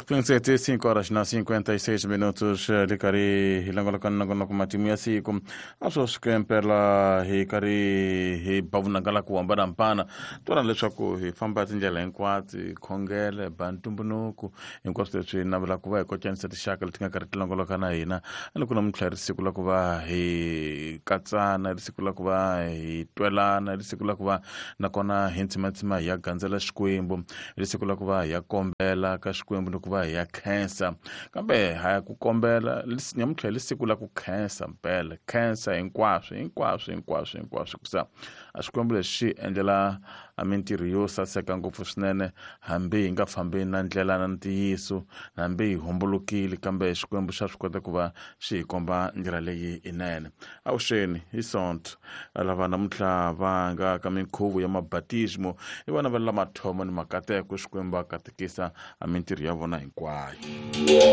5 horas na 56 minutos ri karhi hi langulaka nongonoko matimu ya siku a swo swi kempela hi karhi hi ba vunanga la ku hambanahambana twana leswaku hi famba tindlela hinkwato hi khongela hi ba ntumbuluko hinkwaswo leswi navela ku va hi kocanisa tinxaka leti nga karhi ti longoloka na hina a ni ku namuntlha ri siku la ku va hi katsana ri siku la ku va hi twelana ri siku la ku va nakona hi ntsimatsima hi ya gandzela xikwembu ri siku la ku va hi ya kombela ka xikwembu ni ku va hi ya khensa kambe ha ya ku kombela namuntlha hi ri siku la ku khensa mpela khensa hinkwaswo hinkwaswo hinkwaswo hinkwaswo kusa a xikwembu lexi xi endlela a mintirho yo saseka ngopfu swinene hambi hi nga fambi na ndlela na ntiyiso hambi hi hombolokile kambe xikwembu xa swi kota ku va xi hi komba ndlela leyi inene avuxeni hi sonto lava namuntlha va nga ka minkhuvo ya mabatismo i vana va la mathomo ni makateko xikwembu a katekisa a mintirho ya vona hinkwayo.